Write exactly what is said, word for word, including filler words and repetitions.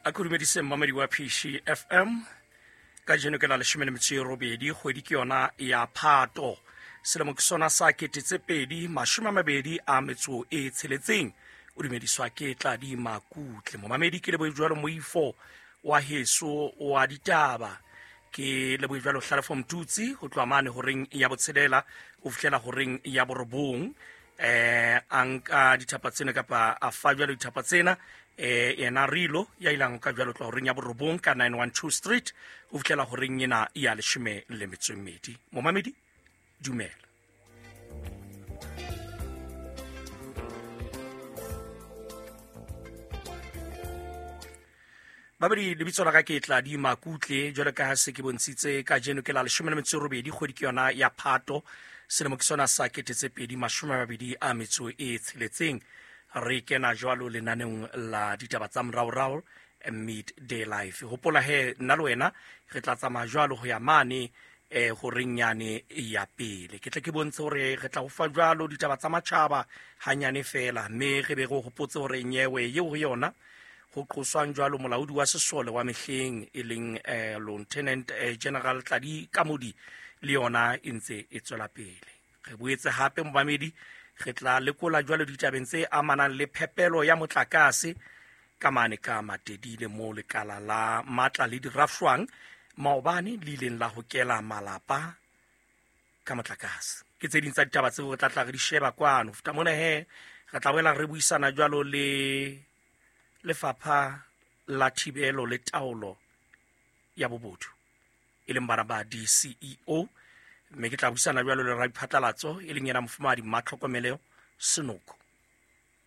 A ke dumedise mmamedi wa P C F M. Kajeno ke la leshome le metso e robedi, kgwedi ke yona ya Phato, selemo ke sona sa kete tse pedi mashome a mabedi a metso e tsheletseng. O dumediswa ke Tladi Makutle. Momamedi, ke lebohe jwalo moifo wa heso wa ditaba, ke lebohe jwalo Hlalefo Mtutsi ho tloha mane horeng ya botshelela ho fihlela horeng ya borobong. eh a nka dithapa tsena kapa a fa jwalo dithapa tsena, eh yena Rilo ya ilang ka jwalo tloha horeng ya borobong ka nine one two Street ho fihlela horeng ena ya leshome le metso e mmedi. Momamedi, dumela. Babedi, lebitso la ka ke Tladi Makutle. Jwalo ka ha se ke bontshitse, kajeno ke la leshome le metso e robedi, kgwedi ke yona ya Phato, selemo ke sona sa kete tse pedi mashome a mabedi a metso e tsheletseng. Re kena jwalo lenaneong la ditaba tsa moraorao, Midday Life. Hopola he nna le wena re tla tsamaya jwalo ho ya mane eh horeng yane ya pele. Ke tle ke bontshe hore re tla ho fa jwalo ditaba tsa matjhaba hanyane fela, mme re be re hopotse hore nyewe eo ho yona ho qoswang jwalo molaodi wa sesole wa mehleng, e leng eh, Lieutenant eh, General Tladi Kamodi, le yona e ntse e tswela pele. Re boetse hape, momamedi, re tla lekola jwalo ditabeng tse amanang le phepelo ya motlakase ka mane ka Matedile, mo lekala la matla le dirafshwang maobane le ileng la hokela malapa ka motlakase. Ke tse ding tsa ditaba tseo re tla tla re di sheba kwano. Feta mona he, re tla boela re buisana jwalo le lefapha la thibelo le taolo ya bobodu, e leng bana ba D C E O, mme ke tla buisana jwalo le radiphatlalatso, e leng yena mofumahadi Matlhokomelo Senoko.